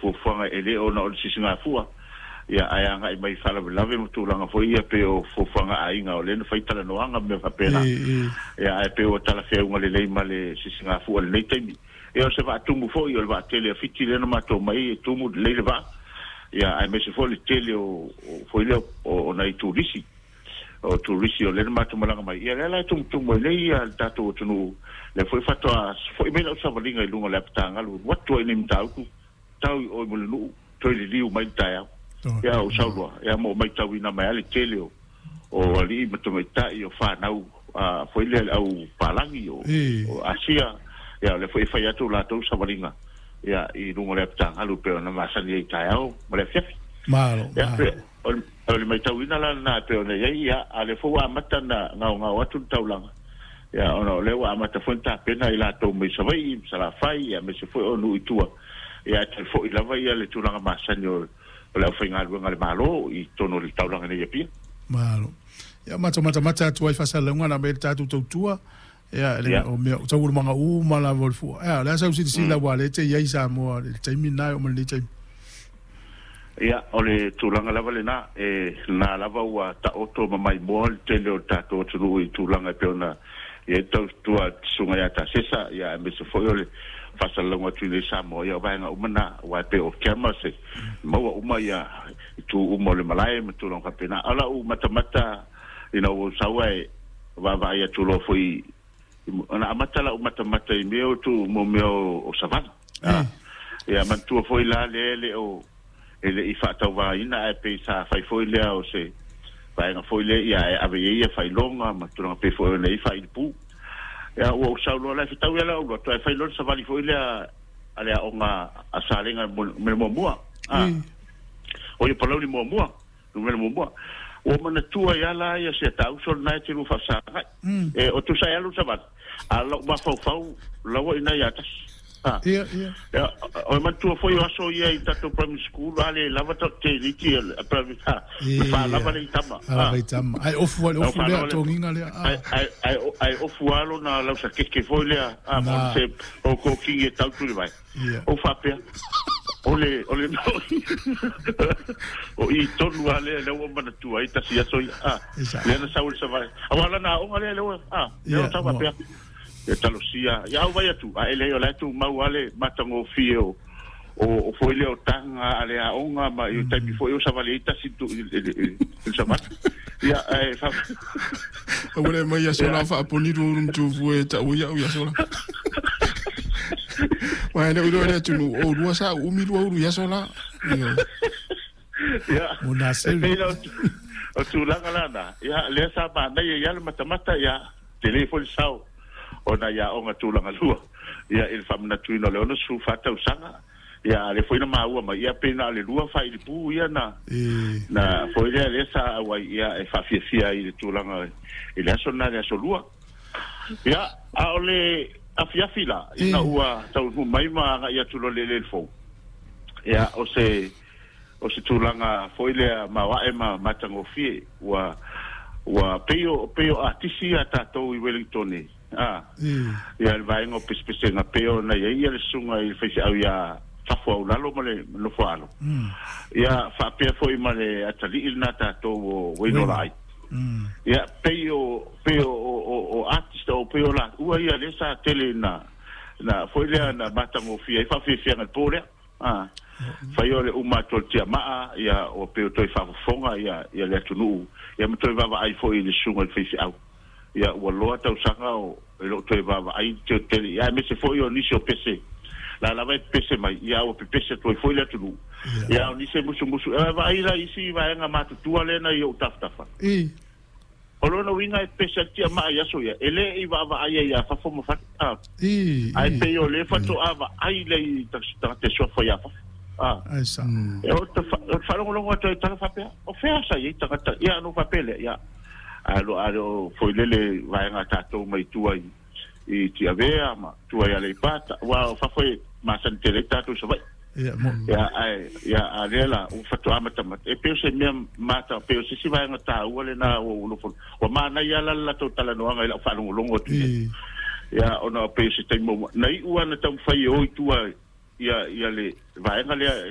fuafuaga e lē ona o le sisigafua, ia ae agaʻi mai faalavelave ma tulaga foi ia pei o fuafuaga aiga o lea na fai talanoaga ma mea faapena. Ia ae pei ua talafeauga lelei ma le sisigafua i lenei taimi. Ia o se vaatumu foi o le vaatele a Fiti lea na matou mai e tumu lelei le vaa, ia aemaise foi le tele o foi lea o nai turisi, o turisi o lea na matou malaga mai, ia lea la e tumutumu ai nei le tatou atunuu. Lea foi faatoa foi mai lau savaliga i luga o le apatagalu, alu atu ai nei Matautu, tau i o i Mulinuu, toe liliu mai le taeao. Ia ou sau loa, ia ma ou matauina mai lava le tele o alii ma tamaitai, o fanau foi lea le au palagi o Asia, ia o lea foi e fai atu latou savaliga ia i luga o le apatagalu pei ona masani ai i taeao ma le afiafi. Malo, Ia, malo. O le matauina la lena e pei ona i ai, ia, a o lea foi ua amata ona gaogao atu le taulaga, ia, ona o lea ua amata foi ona tapena i latou mai Savaii, ma Salafai, ia, aemaise foi o nuu i tua, ia, ae toe foi lava ia le tulaga masani o le aufaigaluega a le Malo i totonu o le taulaga nei i Apia. Malo. Ia, matou matamata atu ai faasalalauga na aumai le tatou tautua, ia, le o mea o taualumaga uma lava o le fua. Ia, o le a sau silasila aua o lea e te i ai i Samoa i le taimi lena e oo mai lenei taimi. Ia, o le tulaga lava lena, e na lava ua taoto ma maimoa le tele o le tatou atunuu i tulaga e pei ona i ai le tautua a le Susuga ia Tasesa, ia aemaise foi o le faasalalauga atu i inei i Samoa, ia o vaega uma na, aua e pei o camera se maua uma ia itu uma o le malae ma tulaga faapena. A o lau matamata ina ua ou sau ae vaavaai atu loa foi, ona amata lau matamata i mea o tu mo mea o savali. Ia manatua foi la lea e le o e le i faatauvaina ae pei sa fai foi lea o se vaega foi lea ia e ave i ai ia faailoga ma tulaga pei foi ona i ai faailipu. Ia ua ou sau loa la e fetau ia lau alu atu ae fai loa le savali foi lea a le aoga a Salega numera muamua. O ia Palauli muamua, numera muamua. Ua manatua ai lava la ia si a ta uso lena e te lua faafesagai. E o tusa e alu le savali, a o lou mafaufau laua i ina ia tasi. Ia, ia. Ia, o e manatua foi o aso ia i tatou primary school, a le lava te liti primary, na faalava le itama. Faalava itama. Ai ofu ai ofu lea togiga lea. Ai ai ai ai ofu alo na lausa keke foi lea, a mo se o ko kingi e tau tu le vai. O faapea o le o i tonu a lea lea ua manatua ai tasi aso ia. Lea na sau le savali. Aua la na aoga lea lea ua lea ua sau faapea. Ia talosia ia au vai atu a ele o la tu mau ale matagofie o foi lea o taga a le aoga ma i taimi foi o savali ai tasi tu i le savali. Ia e fa Ua le mai aso la faaponi lua ulu matufu e tau ia au i aso la. Wa le ulu le tunu o lua sa umi lua ulu i aso la. Io. Ia. Mo na E pei la o tulaga la na. Ia lea sa manaia ia le matamata ia tele foi le sao ona ia aoga tulaga lua. Ia i le faamanatuina o le 64 tausaga. Ia a le foi na maua mai ia pe na o le lua faailipu ia na na foi lea lea sa auai ia e faafiafia ai i le tulaga i le aso lena le aso lua. Ia a o le afiafi la ina ua taunuu mai ma agai atu loa le eleele fou. Ia o se tulaga foi lea maoae ma matagofie ua pei o atisi ia tatou i Wellington ia le vaega o pesepesega pei ona i ai ia le susuga i le faifeau ia Fafo Aulalo ma le nofo alo. Ia faapea foi ma le atalii lena tatou o Wainola ai. Ia pei o artist o pei o la ua ia lea sa tele na foi lea na matagofie ai faafiafiaga i le po lea. Fai o le uma atu o le tiamaa ia o pei o toe faafofoga ia le atunuu ia ma toe vaavaai foi i le susuga i le faifeau. Ia ua loa tausaga o e loo toe vaavaai tele ia aemaise foi o nisi o pese la lava e pese mai ia ua pepese atu ai foi le atunuu. Ia o nisi e musumusu e vaai la isi vaega matutua lea na i ou tafatafa. O lona uiga e pese atu tiamaa i aso ia e le i vaavaai ai ia fafo ma fale. Ai pei o le faatoa vaai le i tagata suafa ia fafo. Ai sa. E o te faalogologo atu ai tala faapea, o fea sa i ai tagata, ia no faapea lea, ia. Alo alo foi lele vaega tatou mai tua i Tiavea ma tua i Aleipata, ua o fafo e masani tele ai tatou i Savaii. Ia mo. Ia ai ia a lea la ua faatoa matamata e pei o se mea mata pei o se isi vaega taua lena ua ou nofo ua manaia la le latou talanoaga i lau faalogologo atu i ai. Ia ona pei o se taimi na iu lava na taumafai e o i tua ia le vaega lea.